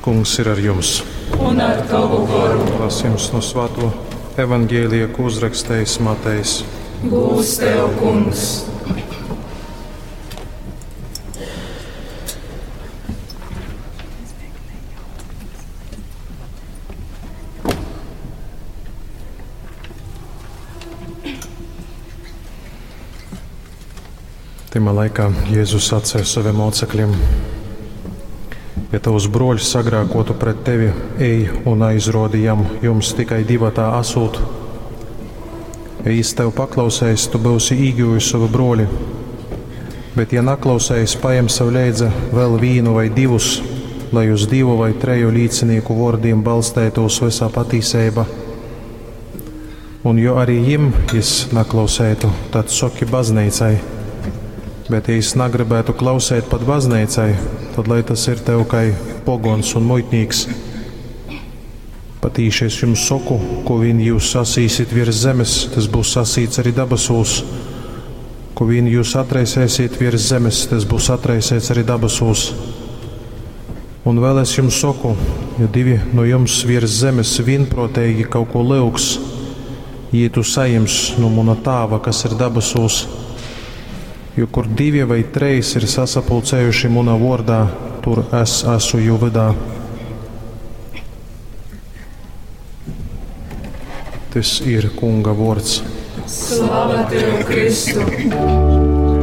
Kungs ir ar jums. Un ar tovu goru. Lasījums no Svāto evaņģēlija, ko uzrakstījis Matejs. Gūs tev, Kungs! Tymā laikā Jēzus sacīja saviem mocekļiem: Ja tavs broļs sagrēkotu pret tevi, ej un aizrodi jam, jums tikai divatā asūt. Ja jis tev paklausēs, tu būsi īguvis savu broli. Bet, ja naklausēs, pajem sev leidza vēl vīnu vai divus, lai uz divu vai treju līcinieku vārdiem balstētos visā patīsība. Un jo arī jim jis naklausētu, tad soki baznīcai. Bet, ja jis nagribētu klausēt pat baznīcai, tad lai tas ir tev kai pogons un muitnīks. Patīši es jums saku, ko vien jūs sasīsit virs zemes, tas būs sasīts arī dabasūs. Ko vien jūs atraisēsiet virs zemes, tas būs atraisēts arī dabasūs. Un vēl es jums saku, ja divi no jums virs zemes vienprātīgi kaut ko lyugs, jī tu sajims no mana tāva, kas ir dabasūs. Jo kur divi vai trejs ir sasapulcējuši manā vārdā, tur es esmu jū vydā. Tas ir Kunga vārds. Slava tev, Kristu!